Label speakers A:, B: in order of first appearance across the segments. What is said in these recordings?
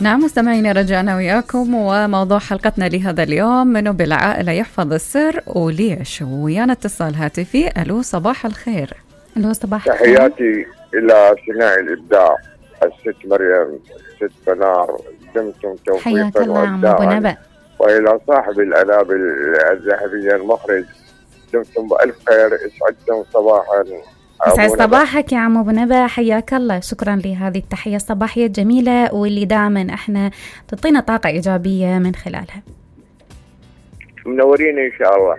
A: نعم مستمعينا، رجعنا وياكم وموضوع حلقتنا لهذا اليوم منو بالعائلة يحفظ السر وليش. ويانا اتصال هاتفي. ألو صباح الخير.
B: ألو صباح الخير.
C: تحياتي إلى صناع الإبداع الست مريم، ست بنار، دمتم توفيقا وإبداعا، وإلى صاحب الآلام الذهبية المخرج دمتم بألف خير. اسعدتم صباحا.
B: يسعد صباحك يا عم أبو نبا، حياك الله. شكرا لهذه التحية الصباحية الجميلة واللي دائما احنا تعطينا طاقة إيجابية من خلالها.
C: منورين إن شاء الله.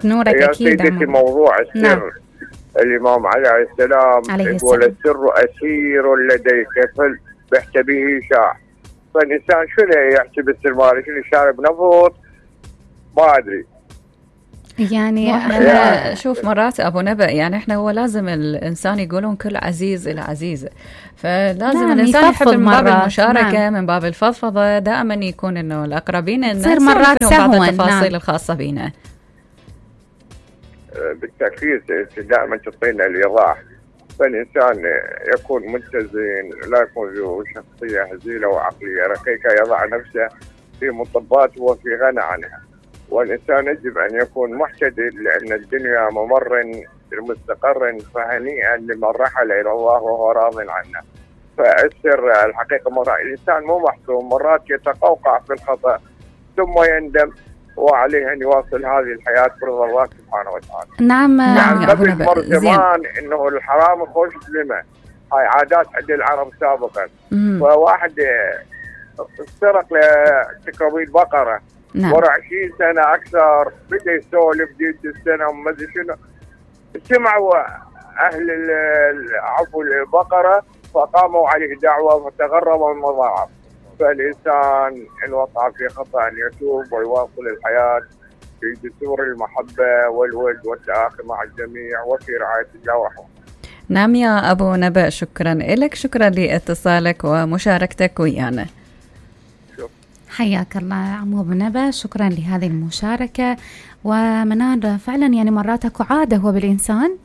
B: نورك أكيد.
C: سيدتي موضوع السر. نعم. الإمام عليه السلام يقول السر أسير لديك فبحتبه شاع. فالإنسان شنو يحسب السر ماله؟ شنو شارب نفط؟ ما أدري
B: يعني
A: أنا شوف مرات أبو نبأ، يعني إحنا هو لازم الإنسان يقولون كل عزيز إلى عزيزة، فلازم الإنسان يحب من باب المشاركة، من باب الفضفضة، دائما يكون إنه الأقربين
B: تصير مرات
A: بعض التفاصيل الخاصة بينا.
C: بالتأكيد دائما تعطينا الإيضاح، فالإنسان يكون متزن، لا يكون ذو شخصية هزيلة وعقلية رقيقة، يضع نفسه في مطبات وفي غنى عنها. والإنسان يجب أن يكون محتدل، لأن الدنيا ممر مستقر، فهنيئا لمن رحل إلى الله وهو راض عنه. فالسر الحقيقة مرات الإنسان مو محسوم، مرات يتقوقع في الخطأ ثم يندم، وعليه أن يواصل هذه الحياة برضا الله سبحانه وتعالى.
B: نعم.
C: يعني قبل مر زمان إنه الحرام يخش ظلمة، هاي عادات عند العرب سابقا. فواحد سرق لتكوين بقرة،
A: نعم.
C: ورا 20 سنة أكثر بدأ يسولف جيت السنة وما أدري شنو، سمعوا أهل عفوا البقرة فقاموا عليه دعوة فتغربوا من مضاعف. فالإنسان إن وقع في خطأ أن يتوب ويواصل الحياة في دستور المحبة والود والتآخي مع الجميع وفي رعاية الله ورحمته.
A: نعم يا أبو نبأ، شكرا لك، شكرا لاتصالك ومشاركتك ويانا.
B: حياك الله يا عم أبو نبا، شكرا لهذه المشاركة. ومنار فعلا يعني مرات اكو عادة هو بالإنسان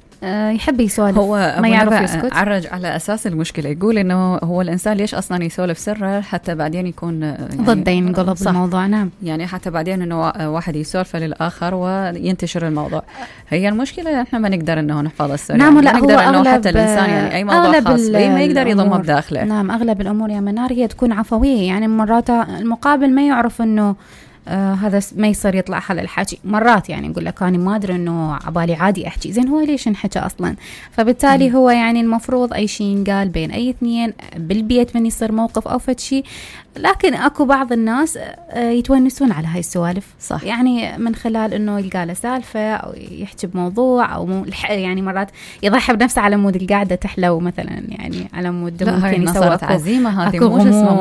B: يحب يسولف،
A: هو
B: ما يعرف يسكت.
A: عرج على أساس المشكلة، يقول إنه هو الإنسان ليش أصلا يسولف سره حتى بعدين يكون يعني
B: ضده ينقلب الموضوع. نعم،
A: يعني حتى بعدين إنه واحد يسولف للآخر وينتشر الموضوع. هي المشكلة إحنا ما نقدر إنه نحفظ السر.
B: نعم،
A: يعني
B: لا
A: نقدر
B: هو
A: إنه حتى الإنسان يعني أي موضوع خاص به ما يقدر يضمه بداخله.
B: نعم، أغلب الأمور يا منار هي تكون عفوية، يعني مرات المقابل ما يعرف إنه هذا ما يصير يطلع حل الحكي. مرات يعني نقول لك أنا ما أدري إنه عبالي عادي أحكي، زين هو ليش نحكي أصلا؟ فبالتالي هو يعني المفروض أي شيء ينقال بين أي اثنين بالبيت من يصير موقف أو فد شيء. لكن أكو بعض الناس يتونسون على هاي السوالف،
A: صح،
B: يعني من خلال إنه يلقى له سالفة أو يحكي بموضوع أو يعني مرات يضحي بنفسه على مود القعدة تحلو مثلا، يعني على مود ممكن يسوي
A: عزيمة. هذه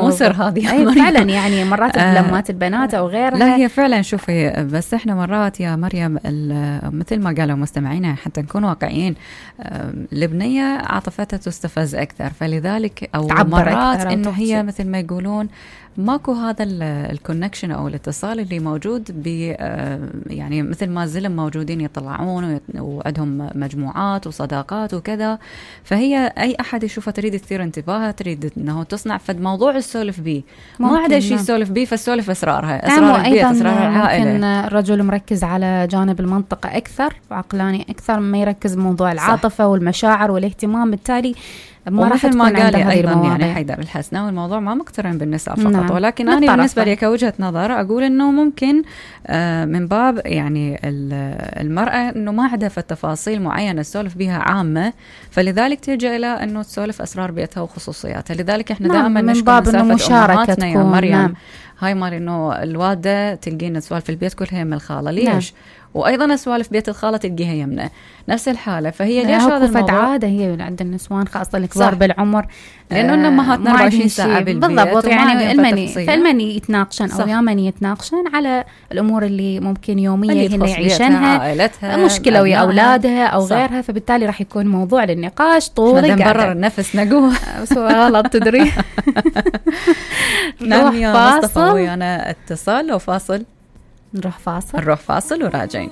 A: مو سر هذه.
B: أي فعلا يعني مرات بلمات البنات أو غيرها.
A: لا هي فعلا شوفي، بس احنا مرات يا مريم مثل ما قالوا مستمعينا حتى نكون واقعيين، البنية عاطفتها تستفز أكثر، فلذلك أو مرات إنه هي مثل ما يقولون ماكو هذا الكونكشن أو الاتصال اللي موجود يعني مثل ما الزلم موجودين يطلعون وعندهم مجموعات وصداقات وكذا. فهي أي أحد يشوفها تريد تثير انتباهها، تريد أنه تصنع فد موضوع السولف بيه، ما عدا شيء يسولف بيه، فالسولف أسرارها، أسرار البيت، أسرار العائلة.
B: ممكن الرجل مركز على جانب المنطقة أكثر وعقلاني أكثر ما يركز بموضوع العاطفة والمشاعر والاهتمام، بالتالي ما راح تكون عنده هذه المواضيع. يعني
A: حيدر الحسناوي الموضوع ما مقترن بالنساء فقط. نعم. ولكن أنا بالنسبة لي كوجهة نظر أقول إنه ممكن من باب يعني المرأة إنه ما عندها في التفاصيل معينة تسولف بها عامة، فلذلك تلجأ إلى إنه تسولف أسرار بيتها وخصوصياتها. لذلك إحنا دائما نشكر مسافة أمهاتنا يا مريم.
B: نعم.
A: هاي مال إنه الوالدة تلقينا سوالف البيت كلها يم الخالة، ليش؟ نعم. وأيضا سوالف بيت الخالة تلقيها يمنا نفس الحالة. فهي ليش هذا الموضوع؟
B: عادة هي عند النسوان خاصة الكبار بالعمر،
A: لأنه أمهاتنا 24 ساعة بالبيت
B: بالضبط. يعني المني يتناقشن أو يامني يتناقشن على الأمور اللي ممكن يومية هن يعيشنها، مشكلة ويا أولادها أو غيرها، فبالتالي راح يكون موضوع للنقاش طول
A: القعدة. نبرر النفس نقول
B: غلط تدري.
A: نعم يا مصطفى، ويانا اتصال وفاصل.
B: نروح فاصل
A: وراجعين.